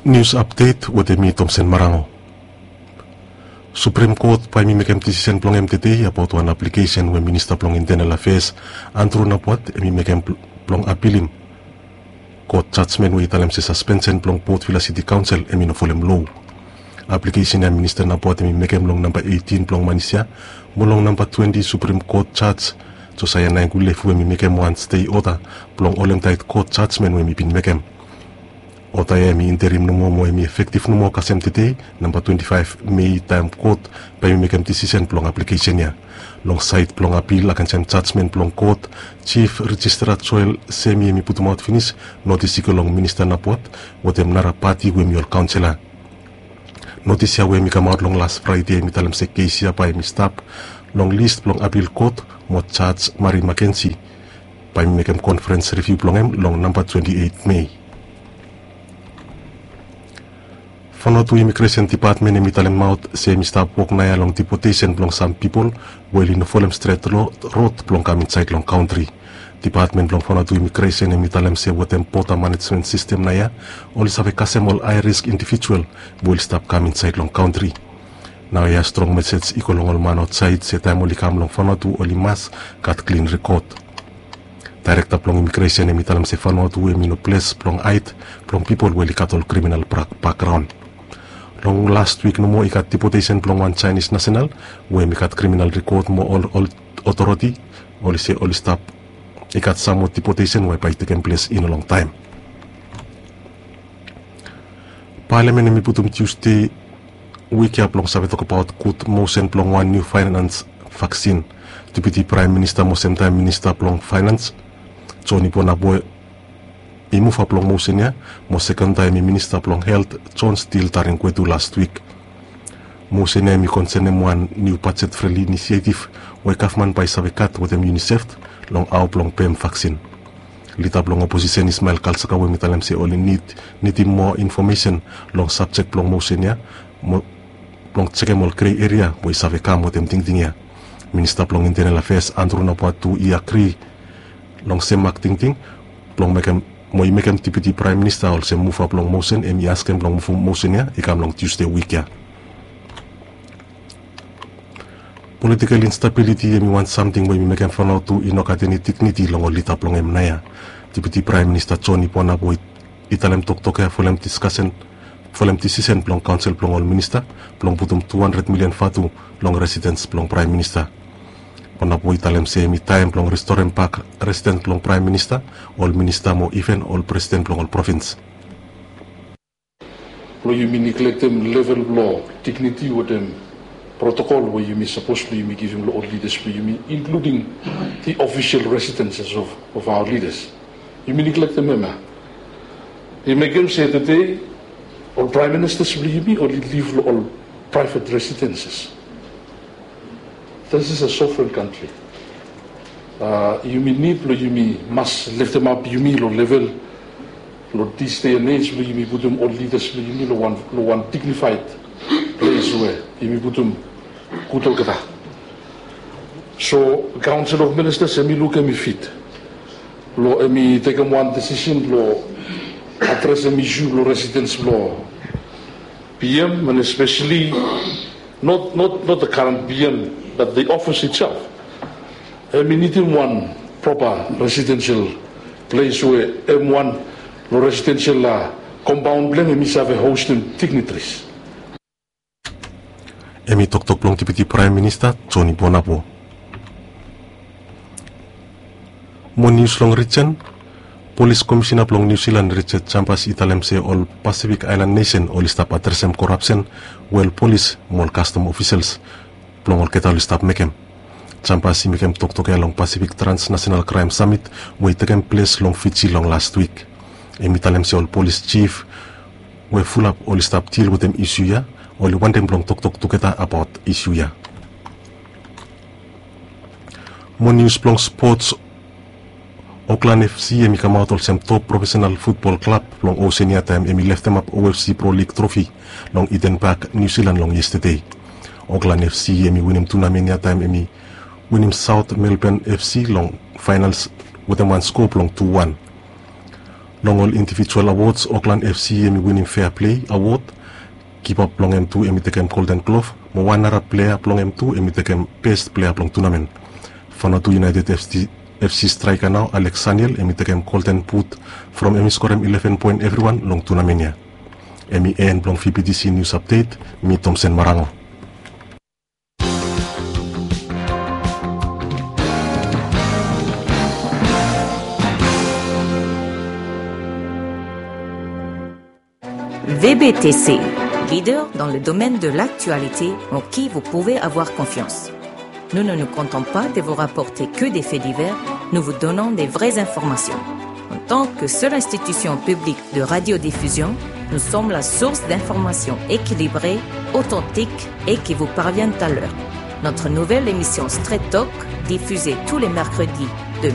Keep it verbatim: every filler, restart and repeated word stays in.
Nius apdet wetem mi, Tomsen Marango. Suprem Kot bae mi mekem disisen blong hem tede abaot wan aplikesen we Minista blong Intenal Afeas, Andrew Napuat, hem i mekem blong apilim kot jajmen we i talem se saspensen blong Port Vila Siti Kaonsel hem i no folem loa. Aplikesen ya Minista Napuat hem i mekem long namba eitin blong manis ya, mo long namba twenti Suprem Kot jaj, Josaia Naengulefu, hem i mekem wan stei oda blong holemtaet kot jajmen we hem i bin mekem. Oda ya hem i interim nomo mo hem i efektiv nomo kasem tede, namba twenti faef Mei, taem kot bae hem i mekem disisen blong aplikesen ya. Long saed blong apil agensem jajmen blong kot, Jif Rijistara Joel Semi hem i putumaot finis notis i go long Minista Napuat wetem nara pati we hem i ol kaonsela. Notis ya we hem i kamaot long las Fraede hem i talem se kes ya bae hem i stap long lis blong apil kot mo jaj Mari Makensi bae hem i mekem konferens riviu blong hem long namba twenti eit Mei. Vanuatu Imigresen Dipatmen hem i talemaot se hem i stap wok naoia long dipotesen blong sam pipol we oli no folem stret rod blong kam insaed long kantri. Dipatmen blong Vanuatu Imigresen hem i talem se wetem boda manejmen sistem naoia oli save kasem ol hae risk indivijual we oli stap kam insaed long kantri. Naoia strong mesej i go long ol man aotsaed se taem oli kam long Vanuatu oli mas gat klin rekod. Daerekta blong Imigresen hem i talem se Vanuatu hem i no ples blong haed blong pipol we oli gat ol kriminal bakraon. Long las wik nomo i gat dipotesen blong wan Jaenis nasenal we hem i gat kriminal rekod mo ol otoriti oli se oli stap i gat sam moa dipotesen we bae i tekem ples i no longtaem. Palamen hem i putum Tiusde wik ya blong save tokbaot gud mosen blong wan niu faenans vaksin. Deputi Praem Minista mo semtaem Minista blong Faenans, Joni Bonaboe, i muvap long mosen ya, mo sekon taem hem i Minista blong Helt, John Steele Taringwetu, las wik. Mosen ya hem i konsenem wan niu bajet frendli inisietiv we gavman bae i save gat wetem UNICEF long hao blong pem vaksin. Lida blong oposisen Ismael Kalsaka we hem i talem se oli nid nidim moa infomesen long sabjek blong mosen ya blong jekem ol grei eria we i save kam wetem tingting ya. Minista blong Intenal Afeas Andrew Napuat tu i agri long sem mak tingting blong mekem mo i mekem Deputi Praem Minista olsem muva blong mosen hem i askem blong muvum mosen ya i kam long Tiusde wik ya. Politikel instabiliti hem i wan samting we hem i mekem Vanuatu i no gat eni digniti long ol lida blong hem naoia. Deputi Praem Minista Joni Bonaboe i talem toktok ya folem diskasen folem disisen blong kaonsel blong ol minista blong putum tu handred milian vatu long residens blong Praem Minista. Bonaboe i talem se hem i taem blong restorem bak residens blong Praem Minista, ol minista mo iven ol presiden blong ol provins. Blong yumi niglektem level blong digniti wetem protokol we yumi sapos blong yumi givim long ol lidas blong yumi, inkluding the official residences of, of our leaders. Yumi niglektem hem ya. I mekem se tede ol praem ministas blong yumi oli liv long ol praevet residenses. This is a sovereign country. Yumi nid blong yumi mas leftemap yumi long level long this day and age blong yumi putum ol lidas blong yumi long wan dignifaed ples we yumi putum gud olgeta. So kaonsel of ministas hem i luk hem i fit blong hem i tekem wan disisen blong adresem isu blong residens blong PM and especially not, not, not the current PM but the office itself. Hem i nidim wan propa residensel ples we hem wan long residensel kompaon blong hem hem i save hostem dignitaries. Hem i toktok blong Deputi Praem Minista Joni Bonaboe. Mo nius long rijen. Polis Komisena blong Niu Silan Richard Chambers i talem se ol Pasifik Aelan nesen oli stap adresem korapsen we ol polis mo ol kastom ofisels blong olgeta oli stap mekem. Chambers i mekem toktok ya long Pasifik Transnasenal Kraem Samit we i tekem ples long Fiji long las wik. Hem i talem se ol polis jif we fulap oli stap dil wetem isu ya oli wantem blong toktok tugeta abaot isu ya. Mo nius blong spots. Oklan FC hem i kamaot olsem top profesenal futbol klab blong Oseania taem hem i leftemap OFC Pro Lig trofi long Eden Park, Niu Silan long yestede. Oklan FC hem i winim tunamen ya taem hem i winim Saot Melban FC long faenals wetem wan sko blong tu wan. Long ol indivijual awods, Auckland F C hemi winim Fair Play Awod. Kipap blong hem tu hemi tekem Golden Glove, mo wan nara plea blong hem tu hemi tekem bes plea blong tunamen. Vanuatu United F C straeka nao, Alex Saniel, hemi tekem Golden Boot from hemi skorem ileven poen evriwan long tunamen ya. Hemi en blong V B T C News Update. Mi Tomsen Marango. V B T C, leader dans le domaine de l'actualité en qui vous pouvez avoir confiance. Nous ne nous contentons pas de vous rapporter que des faits divers, nous vous donnons des vraies informations. En tant que seule institution publique de radiodiffusion, nous sommes la source d'informations équilibrées, authentiques et qui vous parviennent à l'heure. Notre nouvelle émission Straight Talk, diffusée tous les mercredis de